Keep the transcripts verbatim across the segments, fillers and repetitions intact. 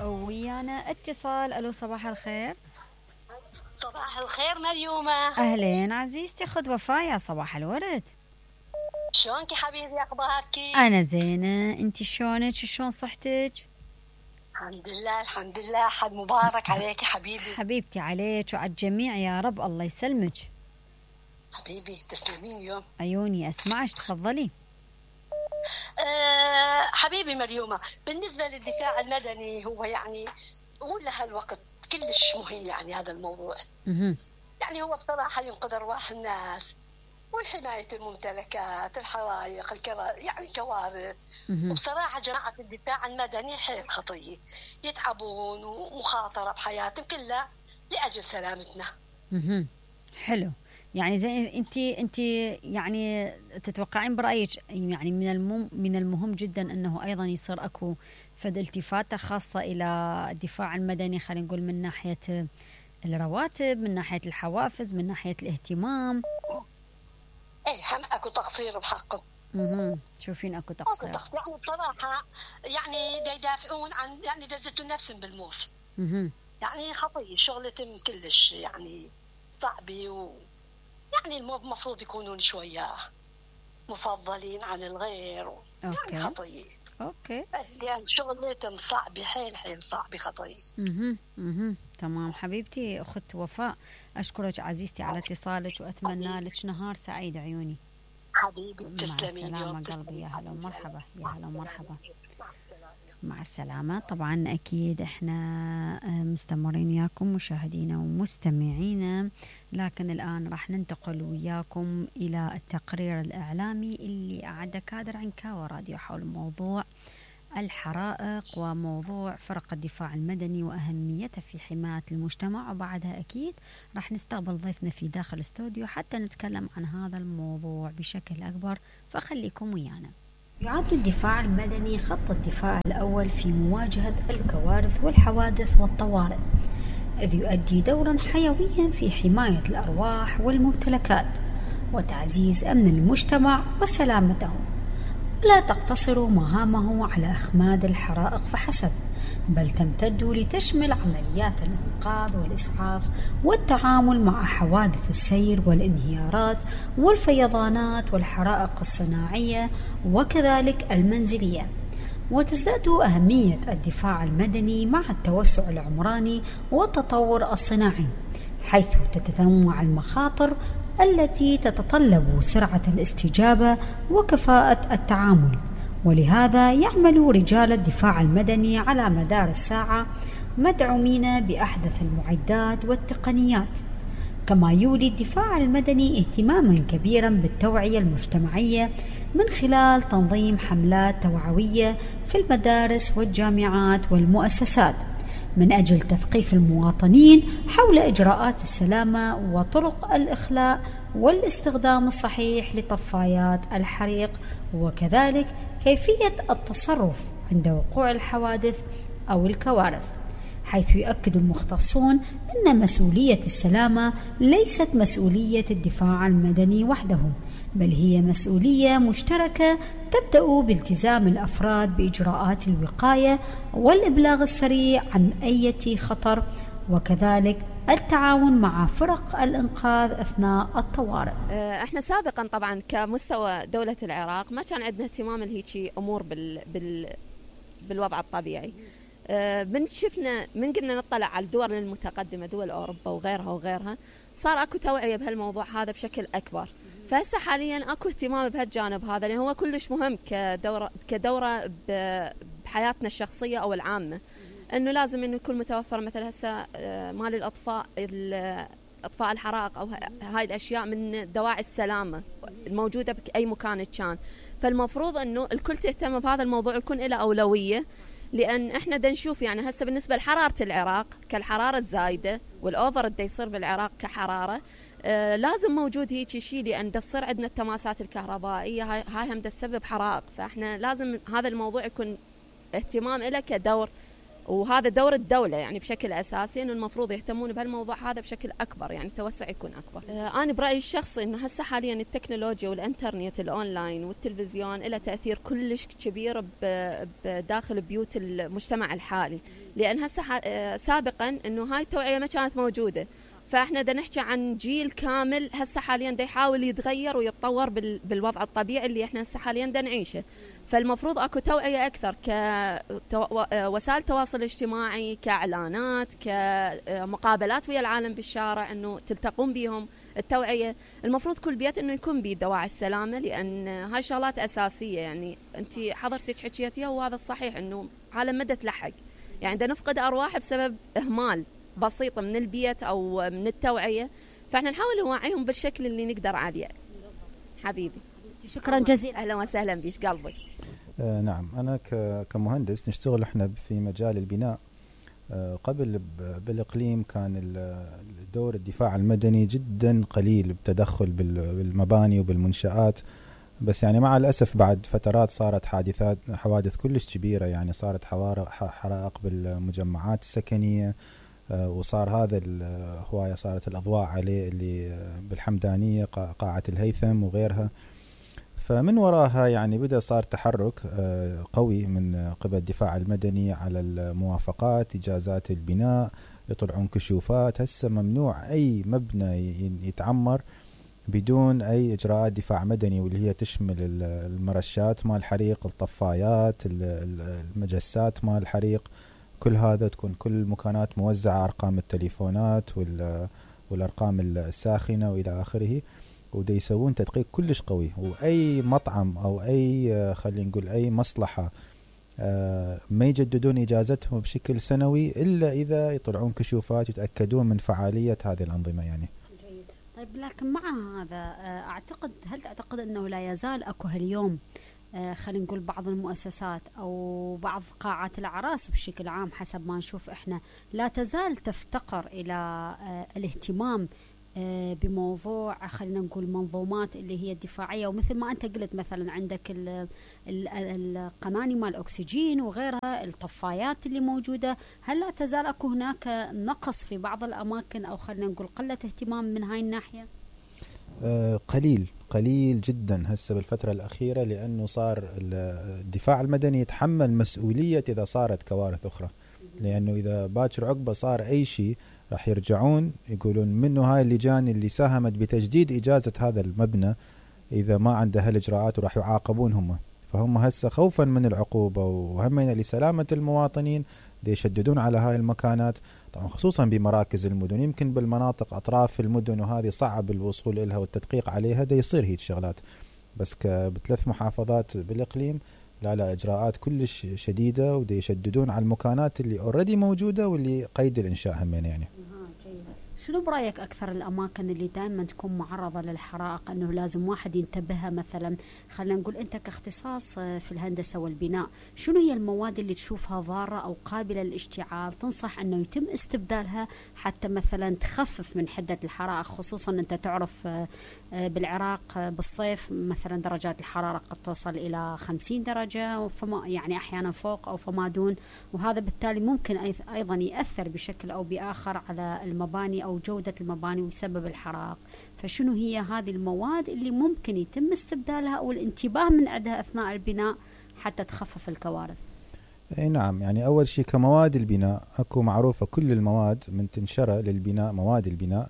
ويانا اتصال. الو صباح الخير. صباح الخير مريومة. اهلين عزيزتي، خد وفايا صباح الورد. شلونك يا حبيبي، اخبارك؟ انا زينة، انتي شلونك؟ شلون صحتك؟ الحمد لله الحمد لله، حد مبارك عليك يا حبيبي. حبيبتي عليك وعلى الجميع يا رب، الله يسلمك. حبيبي تسلمين يوم عيوني اسمعش، تفضلي. أه حبيبي مريومة، بالنسبة للدفاع المدني هو يعني هو لهالوقت كلش مهم، يعني هذا الموضوع مه. يعني هو بصراحة ينقذ أرواح الناس والحماية الممتلكات، الحرائق، الكرا... يعني كوارث. مه. وبصراحة جماعة الدفاع المدني حيل خطية، يتعبون ومخاطرة بحياتهم كلها لأجل سلامتنا. مه. حلو. يعني زي انت انت يعني تتوقعين برايك يعني من المم من المهم جدا انه ايضا يصير اكو فد التفاته خاصه الى الدفاع المدني، خلينا نقول من ناحيه الرواتب، من ناحيه الحوافز، من ناحيه الاهتمام. ايه هم اكو تقصير بحقهم. اها تشوفين اكو تقصير. اكو تقصير يعني بصراحه، يعني دا يدافعون عن يعني دزتوا نفسهم بالموت. اها يعني خطيه شغلتهم كلش يعني صعبه، و يعني المفروض يكونون شويه مفضلين عن الغير. أوكي. يعني خطيه. اوكي. يعني شغلتهم صعبه، حيل حيل صعبه خطيه. اها اها تمام حبيبتي اخت وفاء، اشكرك عزيزتي على اتصالك واتمنى لك نهار سعيد عيوني. حبيبي مع تسلمي السلامة قلبي، يا هلا ومرحبا، يا هلا ومرحبا. مع السلامة. طبعا أكيد إحنا مستمرين وياكم مشاهدينا ومستمعينا، لكن الآن راح ننتقل وياكم إلى التقرير الإعلامي اللي أعده كادر عنكاوة راديو حول موضوع الحرائق وموضوع فرق الدفاع المدني وأهميته في حماية المجتمع، وبعدها أكيد راح نستقبل ضيفنا في داخل الاستوديو حتى نتكلم عن هذا الموضوع بشكل أكبر، فخليكم ويانا. يعد الدفاع المدني خط الدفاع الأول في مواجهة الكوارث والحوادث والطوارئ، إذ يؤدي دورا حيويا في حماية الأرواح والممتلكات وتعزيز أمن المجتمع وسلامته، ولا تقتصر مهامه على إخماد الحرائق فحسب، بل تمتد لتشمل عمليات الإنقاذ والإسعاف والتعامل مع حوادث السير والانهيارات والفيضانات والحرائق الصناعية وكذلك المنزلية. وتزداد أهمية الدفاع المدني مع التوسع العمراني والتطور الصناعي، حيث تتنوع المخاطر التي تتطلب سرعة الاستجابة وكفاءة التعامل، ولهذا يعمل رجال الدفاع المدني على مدار الساعة مدعومين بأحدث المعدات والتقنيات. كما يولي الدفاع المدني اهتماما كبيرا بالتوعية المجتمعية من خلال تنظيم حملات توعوية في المدارس والجامعات والمؤسسات من أجل تثقيف المواطنين حول إجراءات السلامة وطرق الإخلاء والاستخدام الصحيح لطفايات الحريق، وكذلك كيفية التصرف عند وقوع الحوادث أو الكوارث، حيث يؤكد المختصون أن مسؤولية السلامة ليست مسؤولية الدفاع المدني وحده، بل هي مسؤولية مشتركة تبدأ بالتزام الأفراد بإجراءات الوقاية والإبلاغ السريع عن أي خطر، وكذلك التعاون مع فرق الإنقاذ أثناء الطوارئ. احنا سابقا طبعا كمستوى دولة العراق ما كان عندنا اهتمام لهيجي أمور بال بال بالوضع الطبيعي. من شفنا من قلنا نطلع على الدول المتقدمة، دول أوروبا وغيرها وغيرها، صار أكو توعية بهالموضوع هذا بشكل أكبر. فهسه حاليا أكو اهتمام بهالجانب هذا، لأنه هو كلش مهم كدورة كدورة بحياتنا الشخصية أو العامة، إنه لازم إنه يكون متوفر مثل هسه مال الأطفاء أطفاء الحرائق أو هاي الأشياء من دواعي السلامة الموجودة بأي مكان كان. فالمفروض إنه الكل تهتم بهذا الموضوع، يكون له أولوية، لأن إحنا دا نشوف يعني هسه بالنسبة لحرارة العراق كالحرارة الزايدة والأوفر دا يصير بالعراق كحرارة، آه لازم موجود هيك شيء، لأن دا تصير عندنا التماسات الكهربائية هاي, هاي هم دا تسبب حرائق. فإحنا لازم هذا الموضوع يكون اهتمام له كدور وهذا دور الدولة يعني بشكل أساسي، إنه المفروض يهتمون بهالموضوع هذا بشكل أكبر، يعني توسع يكون أكبر. آه أنا برأيي الشخصي إنه هسه حاليا التكنولوجيا والإنترنت الأونلاين والتلفزيون له تأثير كلش كبير بداخل بيوت المجتمع الحالي، لأن هسه آه سابقا إنه هاي التوعية ما كانت موجودة، فاحنا دا نحكي عن جيل كامل هسه حاليا دا يحاول يتغير ويتطور بالوضع الطبيعي اللي احنا هسه حاليا دا نعيشه. فالمفروض اكو توعية اكثر كوسائل تواصل اجتماعي، كاعلانات، كمقابلات ويا العالم بالشارع، انه تلتقون بيهم التوعية. المفروض كل بيت انه يكون بيه دواعي السلامة، لان هاي شغلات اساسية. يعني انت حضرتك حكيتيها وهذا الصحيح، انه عالم مدى تلحق، يعني دا نفقد ارواح بسبب اهمال بسيطة من البيت أو من التوعية، فإحنا نحاول نوعيهم بالشكل اللي نقدر عليه. حبيبي شكرا جزيلا. أهلا وسهلا بيش قلبي. آه نعم، أنا كمهندس نشتغل إحنا في مجال البناء. آه قبل بالإقليم كان دور الدفاع المدني جدا قليل بتدخل بالمباني وبالمنشآت، بس يعني مع الأسف بعد فترات صارت حادثات حوادث كلش كبيرة، يعني صارت حرائق بالمجمعات السكنية، وصار هذا الهواية صارت الأضواء عليه اللي بالحمدانية قاعة الهيثم وغيرها. فمن وراها يعني بدأ صار تحرك قوي من قبل الدفاع المدني على الموافقات، إجازات البناء، يطلعون كشوفات. هسه ممنوع أي مبنى يتعمر بدون أي إجراءات دفاع مدني، واللي هي تشمل المرشات مال الحريق، الطفايات، المجسات مال الحريق، كل هذا تكون كل المكانات موزعة، أرقام التليفونات والأرقام الساخنة وإلى آخره، ودا يسوون تدقيق كلش قوي. وأي مطعم أو أي خلينا نقول أي مصلحة ما يجددون إجازتهم بشكل سنوي إلا إذا يطلعون كشوفات يتأكدون من فعالية هذه الأنظمة يعني. جيد. طيب لكن مع هذا أعتقد، هل تعتقد أنه لا يزال أكو هاليوم آه خلينا نقول بعض المؤسسات أو بعض قاعات الأعراس بشكل عام حسب ما نشوف إحنا لا تزال تفتقر إلى آه الاهتمام آه بموضوع خلينا نقول منظومات اللي هي الدفاعية، ومثل ما أنت قلت مثلا عندك القناني مال الأكسجين وغيرها، الطفايات اللي موجودة، هل لا تزال أكو هناك نقص في بعض الأماكن أو خلينا نقول قلة اهتمام من هاي الناحية؟ آه قليل قليل جدا هسه بالفترة الأخيرة، لأنه صار الدفاع المدني يتحمل مسؤولية إذا صارت كوارث أخرى، لأنه إذا باكر عقبة صار أي شيء راح يرجعون يقولون منه هاي اللجان اللي ساهمت بتجديد إجازة هذا المبنى إذا ما عنده هالإجراءات، وراح يعاقبون هم. فهم هسه خوفا من العقوبة وهمنا لسلامة المواطنين دي يشددون على هاي المكانات، طبعا خصوصا بمراكز المدن. يمكن بالمناطق أطراف المدن وهذه صعب الوصول إلها والتدقيق عليها، دا يصير هيك شغلات، بس بثلاث محافظات بالإقليم لا لا إجراءات كلش شديدة، ودا يشددون على المكانات اللي أوريدي موجودة واللي قيد الإنشاء همين يعني. شنو برأيك أكثر الأماكن اللي دائما تكون معرضة للحرائق أنه لازم واحد ينتبهها؟ مثلا خلينا نقول أنت كاختصاص في الهندسة والبناء، شنو هي المواد اللي تشوفها ضارة أو قابلة للاشتعال تنصح أنه يتم استبدالها حتى مثلا تخفف من حدة الحرائق؟ خصوصا أنت تعرف بالعراق بالصيف مثلا درجات الحرارة قد توصل إلى خمسين درجة، فما يعني أحيانا فوق أو فما دون، وهذا بالتالي ممكن أيضا يأثر بشكل أو بآخر على المباني أو جودة المباني ويسبب الحرائق. فشنو هي هذه المواد اللي ممكن يتم استبدالها أو الانتباه من عندها أثناء البناء حتى تخفف الكوارث؟ اي نعم، يعني أول شيء كمواد البناء أكو معروفة كل المواد من تنشرة للبناء، مواد البناء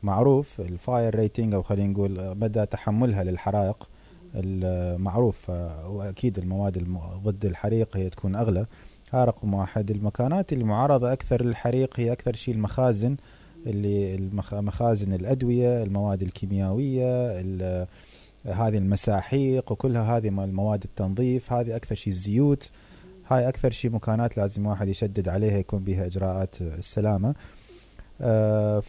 معروف الفاير ريتنج أو خلينا نقول مدى تحملها للحرائق المعروف، وأكيد المواد ضد الحريق هي تكون أغلى. ها رقم واحد. المكانات اللي معرضة أكثر للحريق هي أكثر شيء المخازن، اللي مخازن الأدوية، المواد الكيميائية، هذه المساحيق وكلها هذه المواد التنظيف، هذه أكثر شيء الزيوت، هاي أكثر شيء مكانات لازم واحد يشدد عليها يكون بها إجراءات السلامة. آه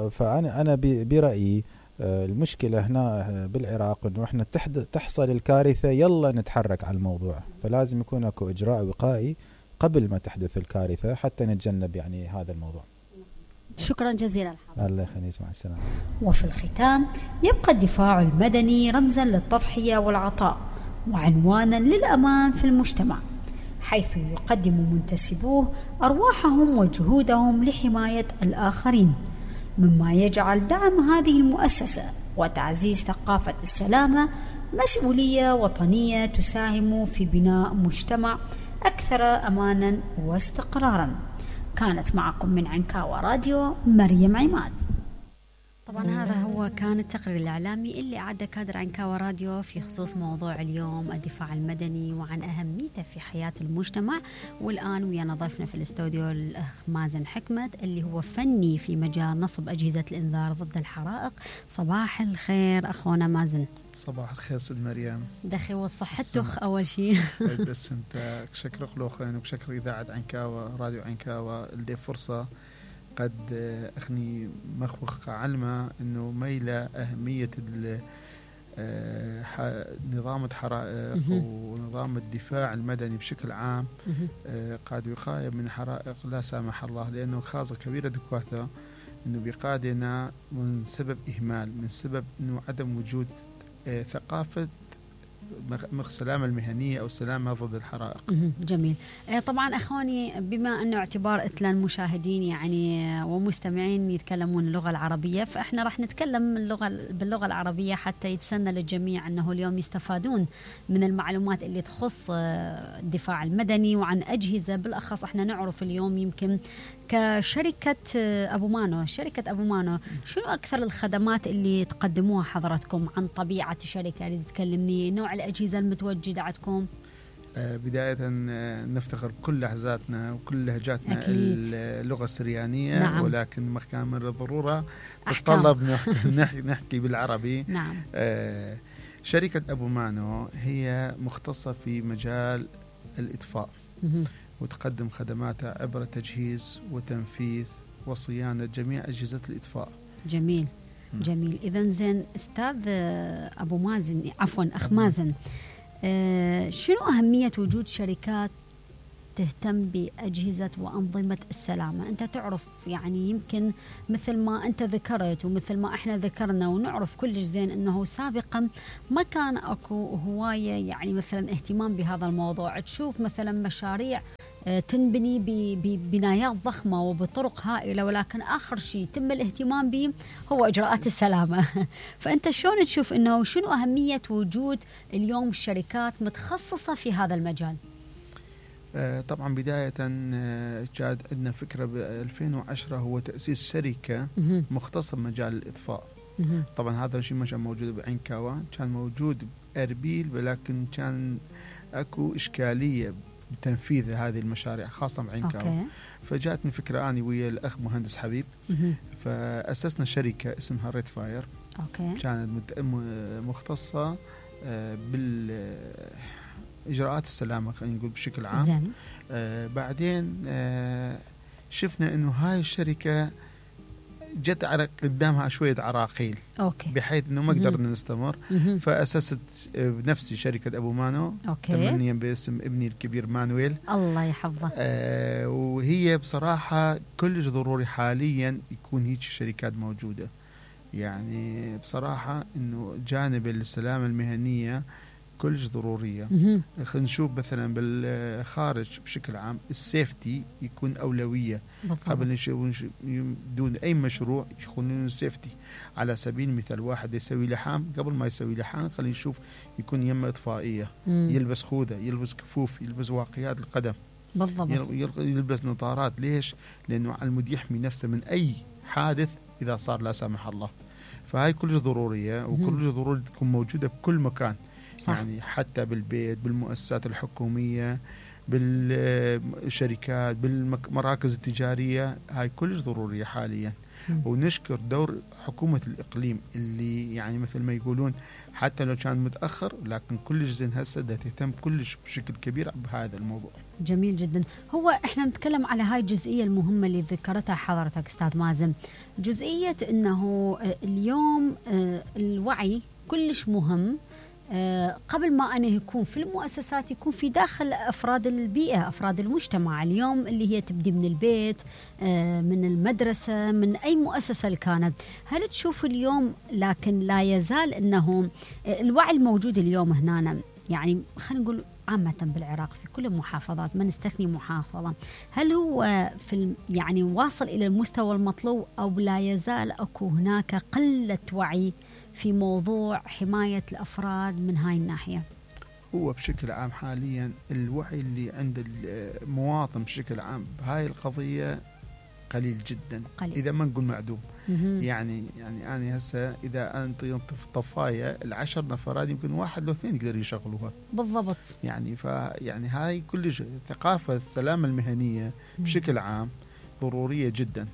فأنا أنا برأيي آه المشكلة هنا بالعراق إنه إحنا تحصل الكارثة يلا نتحرك على الموضوع، فلازم يكون أكو إجراء وقائي قبل ما تحدث الكارثة حتى نتجنب يعني هذا الموضوع. شكرا جزيلا. الله يخليك، مع السلامة. وفي الختام يبقى الدفاع المدني رمزا للتضحية والعطاء وعنوانا للأمان في المجتمع. حيث يقدم منتسبوه أرواحهم وجهودهم لحماية الآخرين، مما يجعل دعم هذه المؤسسة وتعزيز ثقافة السلامة مسؤولية وطنية تساهم في بناء مجتمع أكثر أمانا واستقرارا. كانت معكم من عنكاوى راديو مريم عماد. طبعا هذا هو كان التقرير الإعلامي اللي أعده كادر عنكاوى راديو في خصوص موضوع اليوم الدفاع المدني وعن أهميته في حياة المجتمع. والآن ويانا ضيفنا في الاستوديو الأخ مازن حكمت اللي هو فني في مجال نصب أجهزة الإنذار ضد الحرائق. صباح الخير أخونا مازن. صباح الخير سيد مريم. دخي وصحتك أول شيء. بس أنت شكر خلوخين وشكر إذاعة عنكاوى راديو عنكاوى اللي فرصة قد أخني مخوخ علمة إنه ميلة أهمية نظام الحرائق ونظام الدفاع المدني بشكل عام قاد وقاية من حرائق لا سامح الله، لأنه خاصة كبيرة دكواثة إنه بقادنا من سبب إهمال، من سبب إنه عدم وجود ثقافة السلامة المهنية أو السلامة ضد الحرائق. جميل. طبعا أخواني بما أنه اعتبار إثنين المشاهدين يعني ومستمعين يتكلمون اللغة العربية، فإحنا راح نتكلم اللغة باللغة العربية حتى يتسنى للجميع أنه اليوم يستفادون من المعلومات اللي تخص الدفاع المدني وعن أجهزة. بالأخص إحنا نعرف اليوم يمكن كشركة أبو مانو، شركة أبو مانو شنو أكثر الخدمات اللي تقدموها حضرتكم؟ عن طبيعة الشركة اللي تكلمني، نوع الأجهزة المتواجدة عندكم. آه بداية نفتخر بكل لهجاتنا وكل لهجاتنا اللغة السريانية. نعم. ولكن كان من الضرورة تتطلب نحكي, نحكي بالعربي. نعم. آه شركة أبو مانو هي مختصة في مجال الإطفاء وتقدم خدماتها عبر تجهيز وتنفيذ وصيانة جميع أجهزة الإطفاء. جميل. جميل. إذن زين أستاذ أبو مازن، عفوا أخ مازن، آه شنو أهمية وجود شركات تهتم بأجهزة وأنظمة السلامة؟ أنت تعرف يعني يمكن مثل ما أنت ذكرت ومثل ما إحنا ذكرنا ونعرف كلش زين أنه سابقا ما كان أكو هواية يعني مثلا اهتمام بهذا الموضوع. تشوف مثلا مشاريع تنبني ببنايات ضخمة وبطرق هائلة، ولكن آخر شيء تم الاهتمام به هو إجراءات السلامة. فأنت شلون تشوف أنه شنو أهمية وجود اليوم شركات متخصصة في هذا المجال؟ طبعا بداية جاد عندنا فكرة ب ألفين وعشرة هو تأسيس شركة مختصة بمجال الإطفاء. طبعا هذا الشيء ما كان موجود بعنكاوى، كان موجود بأربيل، ولكن كان أكو إشكالية بتنفيذ هذه المشاريع خاصة بعنكاوى. فجاءتني فكرة أنا ويا الأخ مهندس حبيب، فأسسنا شركة اسمها ريد فاير. أوكي. كانت مختصة بال إجراءات السلامة خلينا نقول بشكل عام. زين. آه بعدين آه شفنا إنه هاي الشركة جت على قدامها شوية عراقيل. أوكي. بحيث إنه ما قدرنا نستمر. فأسست بنفسي شركة أبو مانو. أوكي. تمنيا باسم ابني الكبير مانويل. الله يحفظه. آه وهي بصراحة كلش ضروري حاليا يكون هيك شركات موجودة. يعني بصراحة إنه جانب السلامة المهنية كلش ضرورية. خلينا نشوف مثلا بالخارج بشكل عام السيفتي يكون أولوية. بالضبط. قبل دون أي مشروع يكون السيفتي. على سبيل المثال واحد يسوي لحام، قبل ما يسوي لحام خلينا نشوف يكون يمة إطفائية. مم. يلبس خوذة، يلبس كفوف، يلبس واقيات القدم. بالضبط. يلبس نظارات. ليش؟ لأنه المود يحمي نفسه من أي حادث إذا صار لا سامح الله. فهاي كلش ضرورية وكلش ضروري تكون موجودة بكل مكان. صح. يعني حتى بالبيت، بالمؤسسات الحكومية، بالشركات، بالمراكز التجارية، هاي كلش ضرورية حاليا. م. ونشكر دور حكومة الإقليم اللي يعني مثل ما يقولون حتى لو كان متأخر لكن كلش زين هسه ده تهتم كلش بشكل كبير بهذا الموضوع. جميل جدا. هو احنا نتكلم على هاي الجزئية المهمة اللي ذكرتها حضرتك أستاذ مازن، جزئية أنه اليوم الوعي كلش مهم. أه قبل ما أنا يكون في المؤسسات يكون في داخل أفراد البيئة، أفراد المجتمع. اليوم اللي هي تبدي من البيت، أه من المدرسة، من أي مؤسسة اللي كانت. هل تشوف اليوم لكن لا يزال أنه الوعي الموجود اليوم هنا، يعني خلينا نقول عامة بالعراق في كل المحافظات ما نستثني محافظة، هل هو في يعني واصل إلى المستوى المطلوب أو لا يزال أكو هناك قلة وعي في موضوع حماية الأفراد من هاي الناحية؟ هو بشكل عام حاليا الوعي اللي عند المواطن بشكل عام بهاي القضية قليل جدا، قليل. إذا ما نقول معدوم. مهم. يعني يعني أنا هسه إذا أنت ينطف طفاية العشر نفرات يمكن واحد لو اثنين يقدروا يشغلوها. بالضبط. يعني ف يعني هاي كل ثقافة السلامة المهنية بشكل عام ضرورية جدا.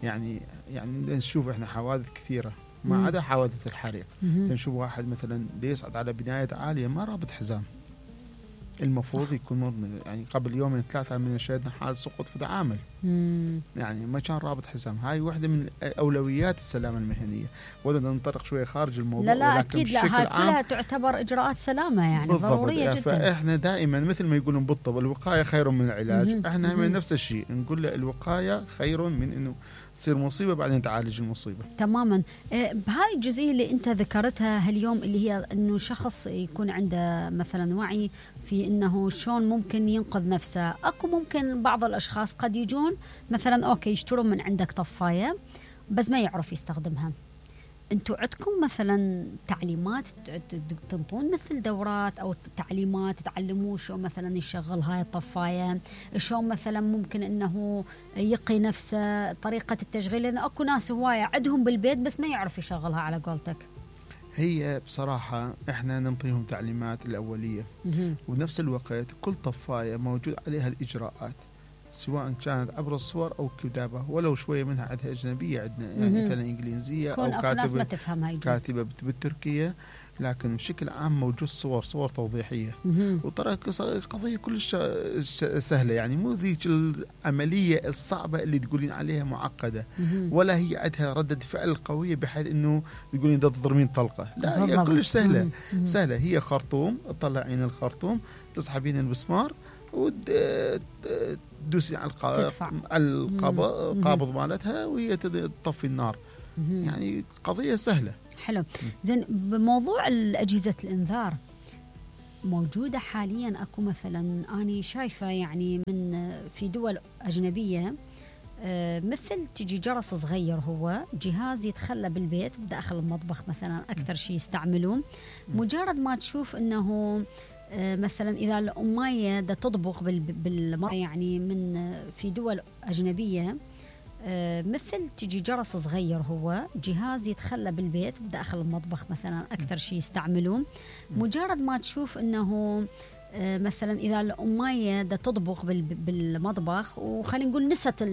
يعني يعني نشوف إحنا حوادث كثيرة ما عدا حوادث الحريق. نشوف واحد مثلا يصعد على بناية عالية ما رابط حزام، المفروض صح. يكون يعني قبل يومين ثلاثة من شاهدنا حال سقوط في عامل يعني ما كان رابط حزام. هاي واحدة من أولويات السلامة المهنية، ولا ننطلق شوية خارج الموضوع. لا لا أكيد لا، هاي كلها تعتبر إجراءات سلامة يعني بالضبط. ضرورية جدا. فإحنا دائما مثل ما يقولون بالطب الوقاية خير من العلاج. مم. إحنا من نفس الشيء نقول له الوقاية خير من إنه تصير مصيبة بعدين تعالج المصيبة. تماما. بهاي الجزئية اللي أنت ذكرتها هاليوم اللي هي أنه شخص يكون عنده مثلا وعي في أنه شلون ممكن ينقذ نفسه. أكو ممكن بعض الأشخاص قد يجون مثلا أوكي يشترون من عندك طفاية بس ما يعرف يستخدمها. أنتوا عندكم مثلا تعليمات تنطون مثل دورات أو تعليمات تعلموه شو مثلا يشغل هاي الطفاية، شو مثلا ممكن أنه يقي نفسه، طريقة التشغيل؟ لأن أكو ناس هواية عندهم بالبيت بس ما يعرف يشغلها على قولتك. هي بصراحة إحنا ننطيهم تعليمات الأولية وبنفس الوقت كل طفاية موجود عليها الإجراءات سواء كانت عبر الصور أو كتابة، ولو شوية منها عندها أجنبية عندنا يعني مثلا إنجليزية أو كاتبة كاتبة بالتركية، لكن بشكل عام موجود صور صور توضيحية. وترى قضية كلش سهلة يعني مو ذيك العملية الصعبة اللي تقولين عليها معقدة، ولا هي عندها ردة فعل قوية بحيث إنه تقولين ده تضربين طلقة. لا هي كلش سهلة. سهلة هي خرطوم تطلعين الخرطوم تسحبين المسمار وتدوسي على القابض مالتها وهي تطفي النار. يعني قضية سهلة. حلو. زين بموضوع الأجهزة الإنذار موجودة حاليا أكو مثلا أنا شايفة يعني من في دول أجنبية مثل تجي جرس صغير، هو جهاز يتخلى بالبيت داخل المطبخ مثلا أكثر شيء يستعملون. مجرد ما تشوف أنه مثلا إذا الأمية دا تطبخ بالمطبخ يعني من في دول أجنبية مثل تجي جرس صغير، هو جهاز يتخلى بالبيت داخل المطبخ مثلا أكثر شيء يستعملون. مجرد ما تشوف أنه مثلا إذا الأمية دا تطبخ بالمطبخ وخلينا نقول نست